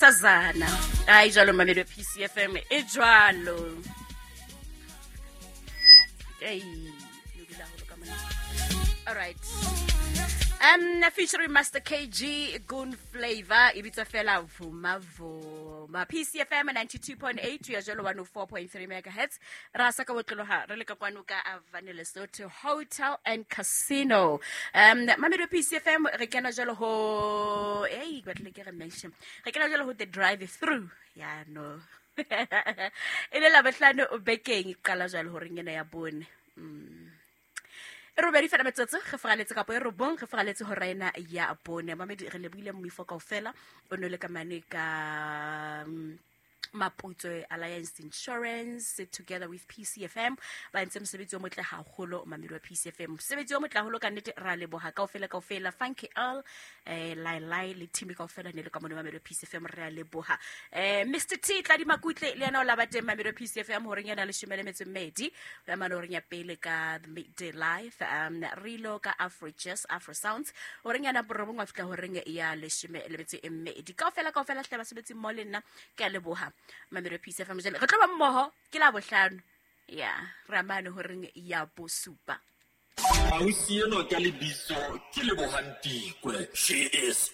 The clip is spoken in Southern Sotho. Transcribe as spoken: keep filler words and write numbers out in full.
Sazana. Ai jwalo mamedi wa P C F M e jwalo. Ei, no dula haholo ka mona. All right. Um, featuring Master K G, Goon Flavor, e bitswa fela Vuma Vuma. P C F M ninety-two point eight, ya jwalo one oh four point three megahertz. Ra sa ka botloloha, re le ka kwano ka Avane Lesotho Hotel and Casino. Um, mamedi wa P C F M, re kena jwalo ho, ei, ke batlile ke re mention. Re kena jwalo ho the drive through. Ya no. E le Labohlano bekeng e qala jwalo horeng ena ya bone. Mm. E robedi fela metsotso, re faraletse kapo e robong, re faraletse hora ena ya bone. Mamedi, re lebohile moifo kaofela, o no le ka mane ka, mm, Maputsoe Alliance Insurance together with P C F M. Ba entse mosebetsi o motle haholo, mamedi wa P C F M. Mosebetsi o motle haholo ka nnete, ra leboha kaofela kaofela. Funky L, eh, Lai Lai le team kaofela ne le ka mona mamedi wa P C F M, re a leboha. Eh, Mister T Tladi Makutle le yena o laba teng mamedi wa P C F M horeng ena leshome le metso e mmedi. O ya mane horeng ya pele ka The Midday Life, um, Rilo ka Afro Jazz, Afro Sounds. Horeng yana borobong wa fihla horeng ya leshome le metso e mmedi. Kaofela kaofela hle basebetsi mmoho le nna, ke a leboha. Mamedi wa P C F M jwale re tlo ba mmoho ke la bohlano. Ya, re amane horeng ya bosupa. Ausi enwa ka lebitso ke Lebohang Tikwe. She is